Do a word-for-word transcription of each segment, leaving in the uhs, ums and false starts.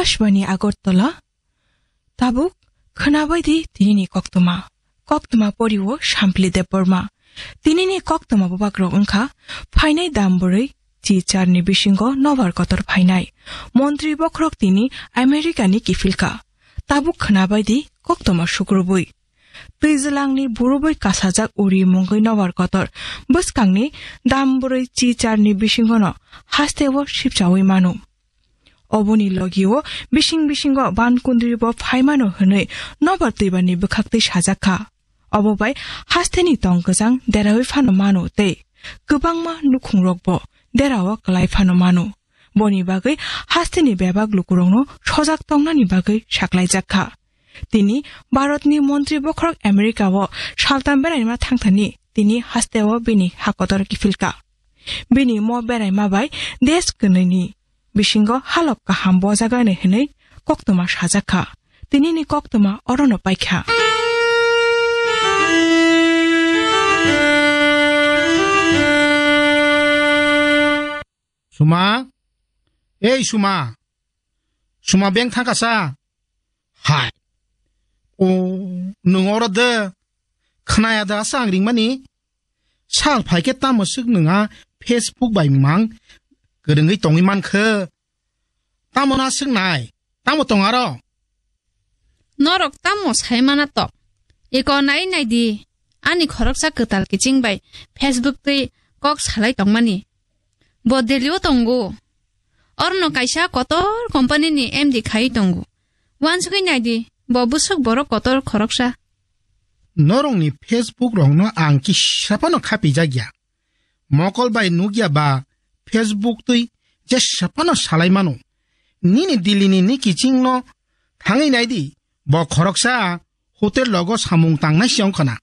Akashbani Agartala, tabuk khwnabai di tinini koktwma. Koktwma poriwo Sampli Debbarma. Tinini koktwma bubagrok wngkha phainai dam bwrwi chi charni bisingo nobar kotor phainai. Montri bokhorok tini Americani kiphilka. Tabuk khwnabai di koktwma sukrubwi. Twijlangni burubwi kasajak uri mungwi nobar kotor bwskangni dam bwrwi chi charni bisingono hasteo sipchawi mano. Oboni logio bising bisingo ban kundri bo phaimano hwnwi nobar twibarni bwkhaktwi sajak kha. Obo bai hasteni tong kwchang derawi phano mano tei kwbangma nukhungrok bo derao kwlai phano mano. Boni bagwi hasteni bebak lukurokno sojak tongnani bagwi saklaijak kha. Tini Bharatni montri bokhorok America-o saltam beraima thangthani tini hasteo bini hakotor kiphilka. Bini mo beraima bai desh kwnwini bisingo halok kaham bojaganai hwnwi koktwma sajak kha. Tinini koktwma orono paikha. Suma, ei Suma, Suma beng thangkasa. Hai. O, nwng oro de. Khnaya da sa ang ringmani? Sal phaikhe tamo swk nwng a Facebook bai mang kwrwngwi tongwi mankhe? Tamo na swknai? Tamo tong aro? Norok tamo sai mana to? Iko nai nai di. Ani khoroksa kwtal kiching bai Facebook twi kok salai tongmani. Bo Delhi o tongo. Orno kaisa kotor company ni M D khai tongo. Wansugwi nai di, bo bwswk borok kotor khoroksa. Norokni Facebook rokno ang kisa phano khapijak ya. Mokol bai nukya ba Facebook twi jesa phano salai mano. Nini Delhi ni ni kiching no thangwi nai di, bo khoroksa hotel logo samung tangnai se wngkhana.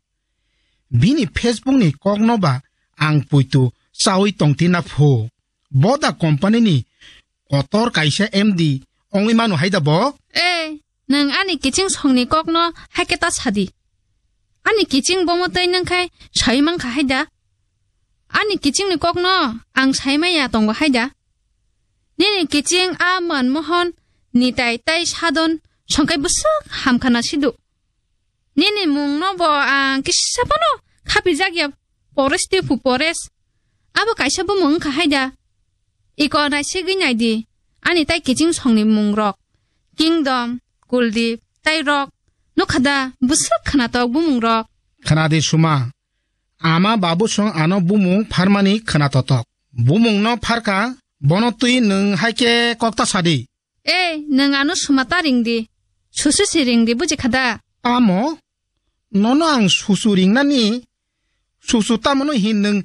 Bini Facebook ni kokno ba ang puitu chawi tongtina phu. Boda company ni kotor kaisa M D ongwi mano haida bo? Ei, nwng ani kiching songni kokno haikhe ta sadi. Ani kiching bomo twi nwngkhai sai mankha haida? Ani kichingni kokno ang sai maya tongo haida? Nini kiching a Manmohan, Nitai tai Sadon songkhai bwswk hamkhana sidu. Nini mungno bo ang kisa phano khapijak ya, Pores tei phu Pores. Abo kaisa bumung wngkha haida? Iko naisigwi nai di, ani tai kiching songni mungrok. Kingdom, Kuldip, tai Rok. Nukha da, bwswk khwnatok bumungrok. Khna di Suma. Ama babu song ano bumung pharmani khwna totok. Bumungno pharka, bono twi nwng haikhe kokta sadi. Ei, nwng ano Suma ta ring di. Susu si ring di, buji kha da? Tamo? Nono ang susu ringnani? Susu tamono hin nwng